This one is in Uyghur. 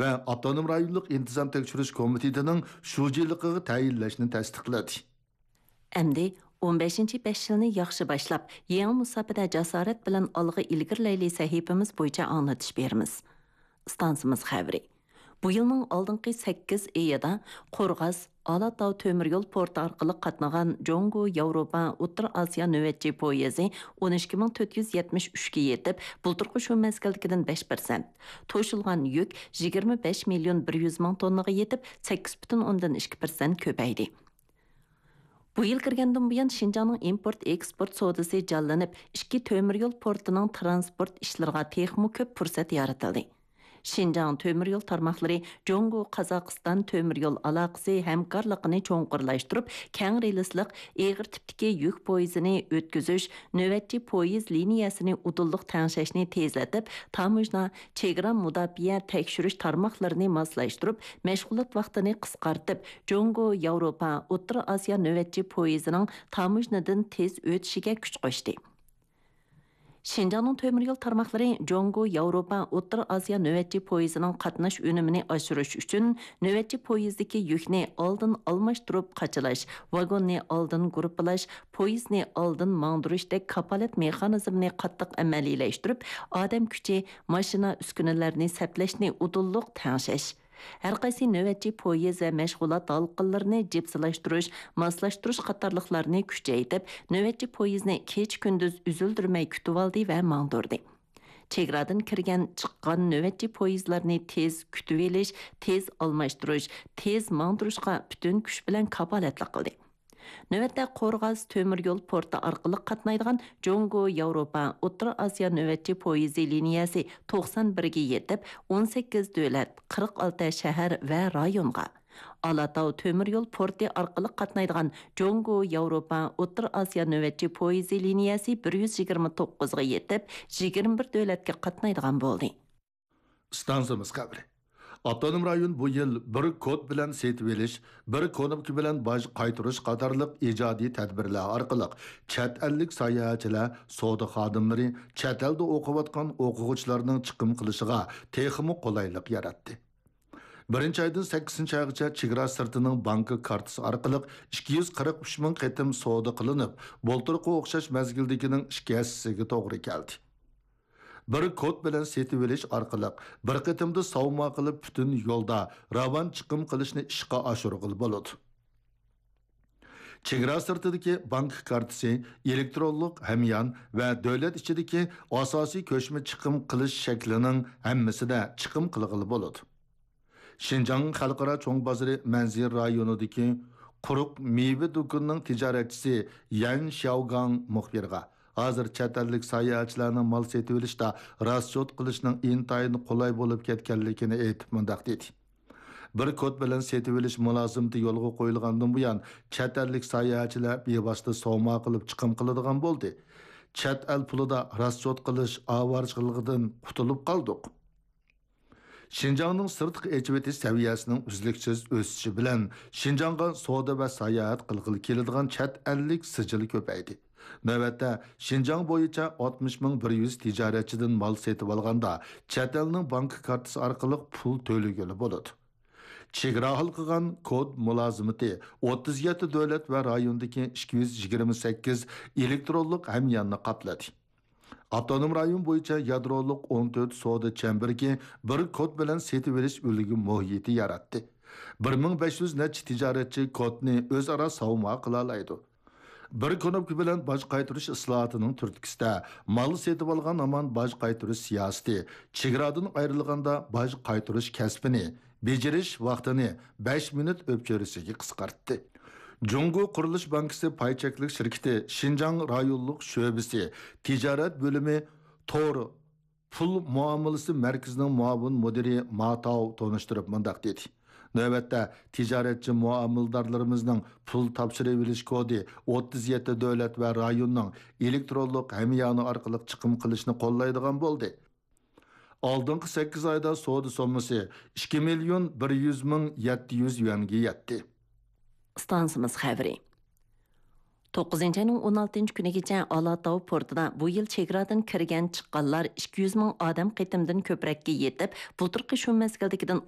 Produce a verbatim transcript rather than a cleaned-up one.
ۋە ئاپتونوم رايونلۇق ئىنتىزام تەكشۈرۈش كومىتېتىنىڭ شۇجىلىقىغا تەيىنلەشنى تەستىقلىدى. ئەمدى ئون بەشىنچى بەش يىلنى ياخشى باشلاپ، يېڭى مۇساپىدە جاسارەت بىلەن ئالغا ئىلگىرىلەيلى سەھىپىمىز بويىچە ئاڭلىتىش بېرىمىز. ئىستانسىمىز خەۋىرى. بۇ يىلنىڭ ئالدىنقى سەككىز ئېيىدا قورغاس، ئالاتاۋ تۆمۈر يول پورتى ئارقىلىق قاتنىغان جۇڭگو ياۋروپا ئوتتۇرا ئاسىيا نۆۋەتچى پويىزى ئون ئىككى مىڭ تۆت يۈز يەتمىش ئۈچكە يېتىپ، بۇلتۇرقى شۇ مەزگىلدىكىدىن بەش پىرسەنت، توشۇلغان يۈك يىگىرمە بەش مىليون بىر يۈز مىڭ توننىغا يېتىپ، سەككىز پۈتۈن ئوندىن ئىككى پىرسەنت كۆپەيدى. بۇ يىل كىرگەندىن بۇيان، شىنجاڭنىڭ ئىمپورت ئېكسپورت سودىسى جانلىنىپ، ئىككى تۆمۈر يول پورتىنىڭ ترانسپورت ئىشلىرىغا تېخىمۇ كۆپ پۇرسەت يارىتىلدى. شىنجاڭ تۆمۈر يول تارماقلىرى جۇڭگو قازاقىستان تۆمۈر يول ئالاقىسى ھەمكارلىقىنى چوڭقۇرلاشتۇرۇپ، كەڭ رېلىسلىق ئېغىر تىپتىكى يۈك پويىزىنى ئۆتكۈزۈش، نۆۋەتچى پويىز لىنىيەسىنى ئۇدۇللۇق تەڭشەشنى تېزلىتىپ، تاموژنا، چېگرا مۇداپىئە تەكشۈرۈش تارماقلىرىنى ماسلاشتۇرۇپ، مەشغۇلات ۋاقتىنى قىسقارتىپ، جۇڭگو ياۋروپا ئوتتۇرا ئاسىيا نۆۋەتچى پويىزىنىڭ تاموژنىدىن تېز ئۆتۈشىگە كۈچ قوشتى. شىنجاڭنىڭ تۆمۈر يول تارماقلىرى جۇڭگو ياۋروپا ئوتتۇرا ئاسىيا نۆۋەتچى پويىزىنىڭ قاتناش ئۈنۈمىنى ئاشۇرۇش ئۈچۈن، نۆۋەتچى پويىزدىكى يۈكنى ئالدىن ئالماشتۇرۇپ قاچىلاش، ۋاگوننى ئالدىن گۇرۇپپىلاش، پويىزنى ئالدىن ماڭدۇرۇشتەك كاپالەت مېخانىزمىنى قاتتىق ئەمەلىيلەشتۈرۈپ، ئادەم كۈچى، ماشىنا ئۈسكۈنىلەرنى سەپلەشنى ئۇدۇللۇق تەڭشەش، ھەرقايسى نۆۋەتچى پويىز ۋە مەشغۇلات ھالقىلىرىنى جىپسىلاشتۇرۇش، ماسلاشتۇرۇش قاتارلىقلارنى كۈچەيتىپ، نۆۋەتچى پويىزنى كېچە-كۈندۈز ئۈزۈلدۈرمەي كۈتۈۋالدى ۋە ماڭدۇردى. چېگرادىن كىرگەن، چىققان نۆۋەتچى پويىزلارنى تېز كۈتۈۋېلىش، تېز ئالماشتۇرۇش، تېز ماڭدۇرۇشقا پۈتۈن كۈچ بىلەن كاپالەتلىك قىلدى. نۆۋەتتە قورغاس تۆمۈر يول پورتى ئارقىلىق قاتنايدىغان جۇڭگو ياۋروپا ئوتتۇرا ئاسىيا نۆۋەتچى پويىزى لىنىيەسى توقسان بىرگە يېتىپ، ئون سەككىز دۆلەت، قىرىق ئالتە شەھەر ۋە رايونغا، ئالاتاۋ تۆمۈر يول پورتى ئارقىلىق قاتنايدىغان جۇڭگو ياۋروپا ئوتتۇرا ئاسىيا نۆۋەتچى پويىزى لىنىيەسى بىر يۈز يىگىرمە توققۇزغا يېتىپ، يىگىرمە بىر دۆلەتكە قاتنايدىغان بولدى. ئىستانسىمىز خەۋىرى. ئاپتونوم رايون بۇ يىل بىر كود بىلەن سېتىۋېلىش، بىر كنوپكا بىلەن باج قايتۇرۇش قاتارلىق ئىجادىي تەدبىرلەر ئارقىلىق چەت ئەللىك ساياھەتچىلەر، سودا خادىملىرى، چەت ئەلدە ئوقۇۋاتقان ئوقۇغۇچىلارنىڭ چىقىم قىلىشىغا تېخىمۇ قولايلىق ياراتتى. بىرىنچى ئايدىن سەككىزىنچى ئايغىچە چېگرا سىرتىنىڭ بانكا كارتىسى ئارقىلىق ئىككى يۈز قىرىق ئۈچ مىڭ قېتىم سودا قىلىنىپ، بۇلتۇرقى ئوخشاش مەزگىلدىكىنىڭ ئىككى ھەسسىسىگە توغرا كەلدى. بىر كود بىلەن سېتىۋېلىش ئارقىلىق بىر قېتىمدا ساۋما قىلىپ، پۈتۈن يولدا راۋان چىقىم قىلىشنى ئىشقا ئاشۇرغىلى بولىدۇ. چېگرا سىرتىدىكى بانكا كارتىسى، ئېلېكترونلۇق ھەميان ۋە دۆلەت ئىچىدىكى ئاساسىي كۆچمە چىقىم قىلىش شەكلىنىڭ ھەممىسىدە چىقىم قىلغىلى بولىدۇ. شىنجاڭ خەلقئارا چوڭ بازىرى مەنزىرە رايونىدىكى قۇرۇق مېۋە دۇكىنىنىڭ تىجارەتچىسى يەن شياۋگاڭ مۇخبىرغا، ھازىر چەت ئەللىك ساياھەتچىلەرنىڭ مال سېتىۋېلىشتا راسچوت قىلىشنىڭ ئىنتايىن قولاي بولۇپ كەتكەنلىكىنى ئېيتىپ، مۇنداق دېدى: بىر كود بىلەن سېتىۋېلىش مۇلازىمىتى يولغا قويۇلغاندىن بۇيان، چەت ئەللىك ساياھەتچىلەر بىۋاسىتە سوما قىلىپ چىقىم قىلىدىغان بولدى. چەت ئەل پۇلىدا راسچوت قىلىش ئاۋارىچىلىقىدىن قۇتۇلۇپ قالدۇق. شىنجاڭنىڭ سىرتقا ئېچىۋېتىش سەۋىيەسىنىڭ ئۈزلۈكسىز ئۆسۈشى بىلەن، شىنجاڭغا سودا ۋە ساياھەت قىلغىلى كېلىدىغان چەت ئەللىك سىجىل كۆپەيدى. نۆۋەتتە، شىنجاڭ بويىچە ئاتمىش مىڭ بىر يۈز تىجارەتچىدىن مال سېتىۋالغاندا، چەت ئەلنىڭ بانكا كارتىسى ئارقىلىق پۇل تۆلىگىلى بولىدۇ. چېگرا ھالقىغان كود مۇلازىمىتى ئوتتۇز يەتتە دۆلەت ۋە رايوندىكى ئىككى يۈز يىگىرمە سەككىز ئېلېكترونلۇق ھەمياننى قاپلىدى. ئاپتونوم رايون بويىچە يادرولۇق ئون تۆت سودا چەمبىرىكى بىر كود بىلەن سېتىۋېلىش ئۈلگە مۇھىتى ياراتتى. بىر مىڭ بەش يۈز نەچچە تىجارەتچى كودنى ئۆزئارا ساۋما قىلالايدۇ. بىر كۇنۇپكا بىلەن باج قايتۇرۇش ئىسلاھاتىنىڭ تۈرتكىسىدە، مال سېتىۋالغان ھامان باج قايتۇرۇش سىياسىتى چېگرادىن ئايرىلغاندا باج قايتۇرۇش كەسپىنى بېجىرىش ۋاقتىنى بەش مىنۇت ئۆپچۆرىسىگە قىسقارتتى. جۇڭگو قۇرۇلۇش بانكىسى پاي چەكلىك شىركىتى شىنجاڭ رايونلۇق شۆبىسى تىجارەت بۆلۈمى تور پۇل مۇئامىلىسى مەركىزىنىڭ مۇئاۋىن مۇدىرى ما تاۋ تونۇشتۇرۇپ مۇنداق دېدى: نۆۋەتتە تىجارەتچى مۇئامىلىدارلىرىمىزنىڭ پۇل تاپشۇرۇۋېلىش كودى ئوتتۇز يەتتە دۆلەت ۋە رايوننىڭ ئېلېكترونلۇق ھەميانى ئارقىلىق چىقىم قىلىشنى قوللايدىغان بولدى. ئالدىنقى سەككىز ئايدا سودا سوممىسى ئىككى مىليون بىر يۈز مىڭ يەتتە يۈز يۈەنگە يەتتى. ئىستانسىمىز خەۋىرى. توققۇزىنچى ئاينىڭ ئون ئالتىنچى كۈنىگىچە ئالاتاۋ پورتىدا بۇ يىل چېگرادىن كىرگەن چىققانلار ئىككى يۈز مىڭ ئادەم قېتىمدىن كۆپرەككە يېتىپ، بۇلتۇرقى شۇ مەزگىلدىكىدىن